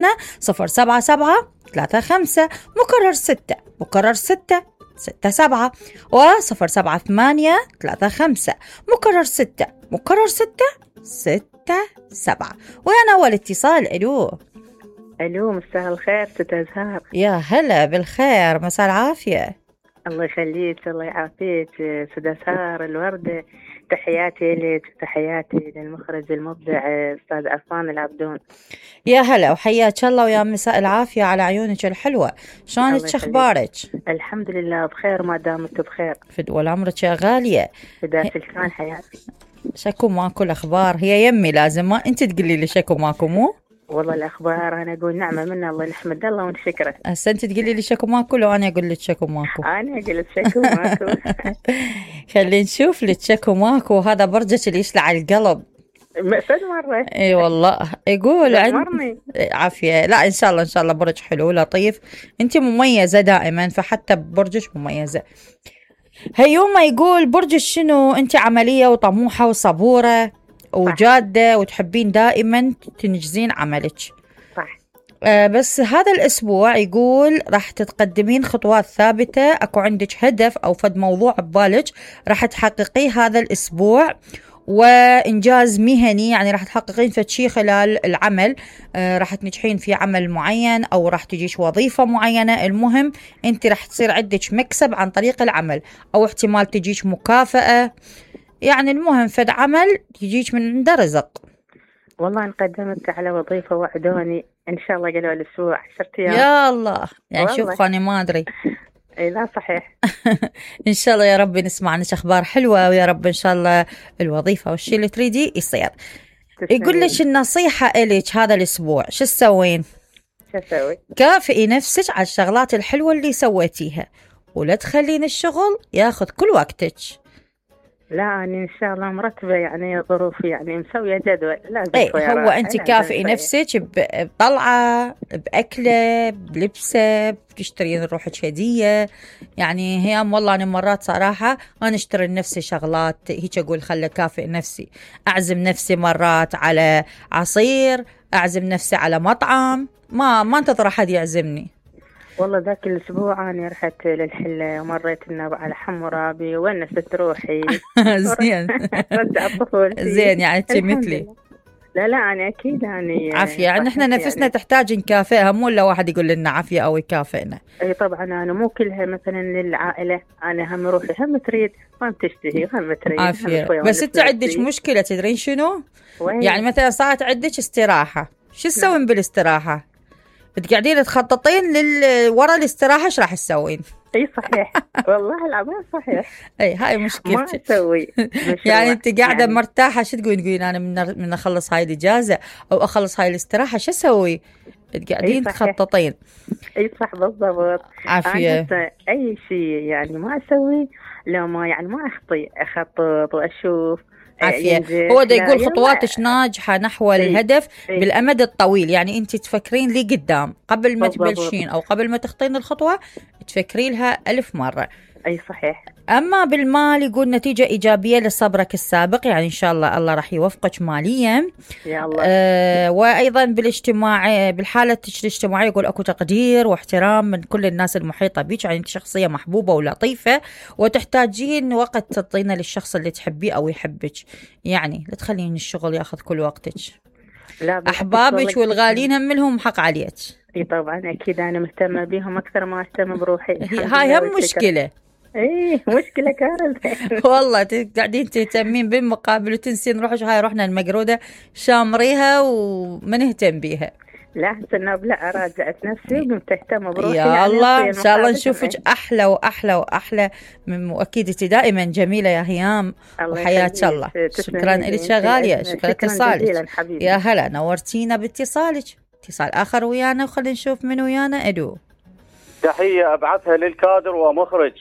077355 مكرر 6 مكرر 6 67 و078355 مكرر 6 مكرر 6 67. وأنا أول اتصال. ألو مساء الخير ست أزهار. يا هلا بالخير، مساء العافية. الله يخليك الله يعافيك ست أزهار الوردة. تحياتي لك، تحياتي للمخرج المبدع أستاذ عفان العبدون. يا هلا وحياك الله، ويا مساء العافية على عيونك الحلوة. شلونك، شخبارك؟ الحمد لله بخير ما دامت بخير. فدوى عمرك يا غالية. فداك الكان حياتي. شكو ماكو الأخبار؟ هي يمي لازم ما أنت تقولي لي شكو ماكو مو؟ والله الأخبار أنا أقول نعمة من الله، نحمد الله ونشكره. هسه أنت تقولي لي شكو ماكو لو أنا أقول لك شكو ماكو؟ أنا أقول لك شكو ماكو. خلينا نشوف لك شكو ماكو. هذا برجك اللي يشلع القلب. مأسد مرة. اي والله يقول مرني عافية. لا إن شاء الله إن شاء الله برج حلو لطيف. أنت مميزة دائما، فحتى برجك مميزة. هيوما يقول برجك شنو؟ أنت عملية وطموحة وصبورة وجادة وتحبين دائما تنجزين عملك. صح. بس هذا الأسبوع يقول راح تتقدمين خطوات ثابتة، أكو عندك هدف أو فد موضوع ببالك راح تحققيه هذا الأسبوع، وإنجاز مهني يعني راح تحققين فد شي خلال العمل. راح تنجحين في عمل معين أو راح تجيش وظيفة معينة. المهم أنت راح تصير عندك مكسب عن طريق العمل، أو احتمال تجيش مكافأة. يعني المهم فد عمل يجيك من عنده رزق. والله انقدمت على وظيفة وعدوني إن شاء الله قالوا الأسبوع 10 أيام. يا الله يعني شوف أنا ما أدري. اي لا صحيح. ان شاء الله يا رب نسمع عنك اخبار حلوه، ويا رب ان شاء الله الوظيفه والشيء اللي تريدي يصير. يقول لك النصيحه الك هذا الاسبوع شو تسوين؟ شو اسوي؟ كافئي نفسك على الشغلات الحلوه اللي سويتيها، ولا تخلين الشغل ياخذ كل وقتك. لا أنا إن شاء الله مرتبة، يعني ظروفي يعني مسوية جدول لازم. هو أنت كافئي نفسك بطلعة، بأكلة، بلبسة، بتشترين روحك هدية. يعني هي والله أنا مرات صراحة أنا أشتري لنفسي شغلات هيك، أقول خلي كافئ نفسي. أعزم نفسي مرات على عصير، أعزم نفسي على مطعم، ما انتظر أحد يعزمني. والله ذاك الأسبوع أنا رحت للحلة ومريت على حمورابي ونست روحي. زين. رجع طفولتي. زين يعني أنت مثلي. لا أنا أكيد يعني عافية. يعني إحنا نفسنا يعني تحتاج نكافئها، مو إلا واحد يقول لنا عافية أو يكافئنا. أي طبعا أنا مو كلها مثلا للعائلة، أنا هم روحي هم تريد هم تشتهي هم تريد. عافية. بس أنت عندك مشكلة تدرين شنو؟ وين؟ يعني مثلا صارت عندك استراحة، شو تسوين بالاستراحة؟ بتقعدين تخططين ورا الاستراحة ايش راح تسوين؟ اي صحيح. والله العظيم صحيح. اي هاي مشكلتك. ما اسوي. يعني انت قاعده يعني مرتاحه، شو تقولين انا من اخلص هاي الاجازه او اخلص هاي الاستراحه شو اسوي؟ تقعدين تخططين. اي صح بالضبط. عافيه. اي شيء يعني ما اسوي لو ما يعني ما اخطط واشوف. عافية. هو دا يقول خطواتك ناجحة نحو الهدف بالأمد الطويل. يعني أنت تفكرين لي قدام قبل ما تبلشين أو قبل ما تخطين الخطوة، تفكري لها 1000 مرة. أي صحيح. أما بالمال يقول نتيجة إيجابية لصبرك السابق، يعني إن شاء الله راح يوفقك ماليا يا الله. وأيضا بالاجتماع، بالحالة الاجتماعية يقول أكو تقدير واحترام من كل الناس المحيطة بك. يعني أنت شخصية محبوبة ولطيفة، وتحتاجين وقت تعطينه للشخص اللي تحبيه أو يحبك. يعني لا تخلين الشغل ياخذ كل وقتك. لا أحبابك والغالين هم لهم حق عليك. اي طبعا اكيد انا مهتمه بيهم اكثر ما اهتم بروحي. هاي هم مشكله. ايه مشكله كارثه. والله قاعدين تهتمين بالمقابل وتنسين روحك. هاي رحنا المقروده شامريها وما نهتم بيها. لا هسه لا راجعت نفسي وقمت اهتم بروحي. يا يعني الله ان شاء الله نشوفك احلى واحلى واحلى واكيد انت دائما جميله يا هيام وحياك الله. شكرا لك يا غاليه، شكرا لاتصالك. يا هلا نورتينا باتصالك. اتصال آخر ويانا وخلينا نشوف من ويانا. ألو. تحية أبعثها للكادر ومخرج.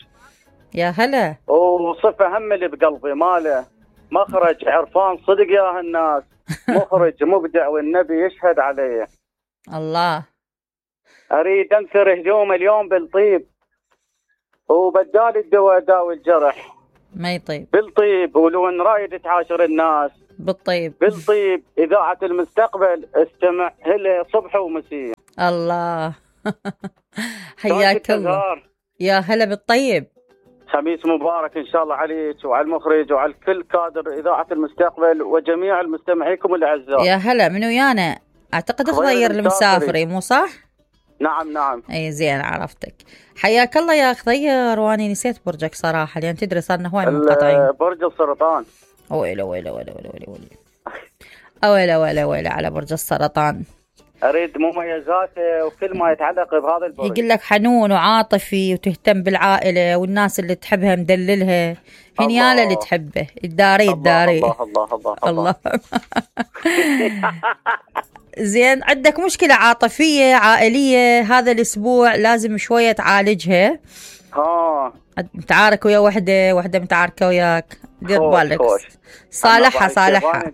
يا هلا. وصفة هم اللي بقلبي ماله مخرج عرفان صدق يا الناس. مخرج مبدع والنبي يشهد عليه. الله. أريد أنثر هجوم اليوم بالطيب، وبدال الدواء داوي الجرح. ما يطيب بالطيب، ولو ان رايد تعاشر الناس بالطيب. بالطيب إذاعة المستقبل، استمع هلا صبح ومسيء. الله. حياك الله. يا هلا بالطيب. خميس مبارك إن شاء الله عليك وعلى المخرج وعلى كل كادر إذاعة المستقبل وجميع المستمعيكم الأعزاء. يا هلا، منو ويانا؟ أعتقد خضير المسافري، مو صح؟ نعم. أي زين، عرفتك. حياك الله يا خضير، وأنا نسيت برجك صراحة، لأن تدري صارنا هواي منقطعين. برج السرطان. ويلا على برج السرطان. أريد مميزاته وكل ما يتعلق بهذا البرج. يقول لك حنون وعاطفي وتهتم بالعائلة والناس اللي تحبها مدللها، هنياله اللي تحبه، الداري. الله. زين، عندك مشكلة عاطفية عائلية هذا الأسبوع، لازم شوية تعالجها. متعارك ويا وحدة متعاركة وياك، دير بالك. صالحها.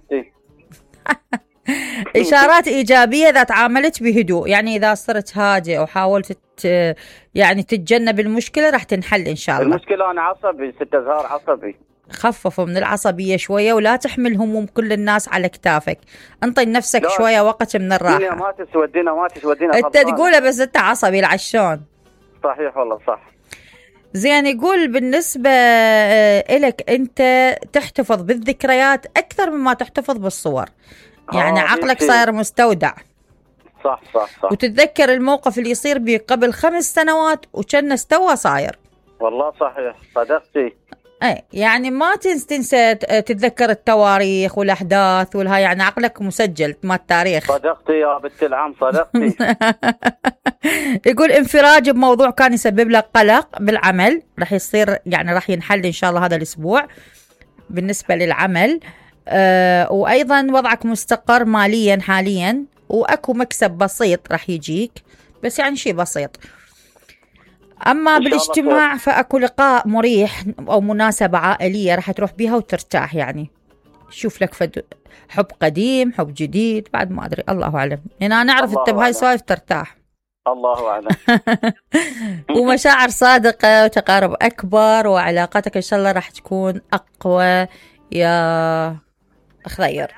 إشارات إيجابية إذا تعاملت بهدوء، يعني إذا صرت هادئ وحاولت يعني تتجنب المشكلة راح تنحل إن شاء الله. المشكلة أنا عصبي، ست أزهار عصبي. خففوا من العصبية شوية، ولا تحمل هموم كل الناس على كتافك، انطي لنفسك شوية وقت من الراحة. الدنيا ما تسودينا انت تقوله بس انت عصبي العشون. صحيح والله صح. زين، يقول بالنسبة إلك أنت تحتفظ بالذكريات أكثر مما تحتفظ بالصور، يعني عقلك صاير مستودع. صح. وتتذكر الموقف اللي يصير بي قبل 5 سنوات وكأنه استوى صاير. والله صحيح، صدقتي. اي يعني ما تنسى تتذكر التواريخ والأحداث والها، يعني عقلك مسجل ما التاريخ. صدقتي يا بنت العم، صدقتي. يقول انفراج بموضوع كان يسبب لك قلق بالعمل راح يصير، يعني راح ينحل إن شاء الله هذا الأسبوع بالنسبة للعمل. وأيضا وضعك مستقر ماليا حاليا، وأكو مكسب بسيط راح يجيك، بس يعني شيء بسيط. أما بالاجتماع فأكو لقاء مريح أو مناسبة عائلية راح تروح بيها وترتاح، يعني شوف لك حب قديم، حب جديد، بعد ما أدري، الله أعلم. أنا نعرف أنت بهاي السوالف ترتاح. الله أعلم. ومشاعر صادقة وتقارب أكبر، وعلاقتك إن شاء الله راح تكون أقوى يا خضير.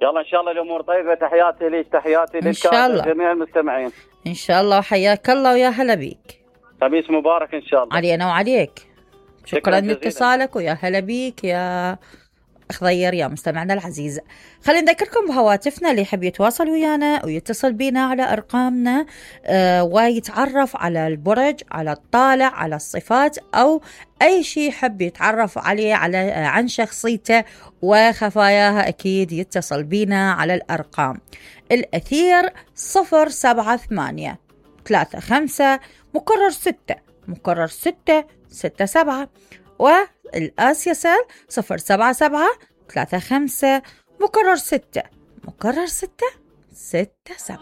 يلا إن شاء الله الأمور طيبة. تحياتي ليك، تحياتي للكادر جميع المستمعين إن شاء الله. وحياك الله ويا هلا بيك. خميس مبارك إن شاء الله علينا وعليك. شكرا لاتصالك ويا هلا بيك يا خضير يا مستمعنا العزيز. خلينا نذكركم بهواتفنا اللي يحب يتواصل ويانا ويتصل بينا على أرقامنا ويتعرف على البرج، على الطالع، على الصفات، أو أي شيء يحب يتعرف عليه عن شخصيته وخفاياها، أكيد يتصل بينا على الأرقام الأثير 07835 مكرر 667 والآس يسال 07735 مكرر 6 67.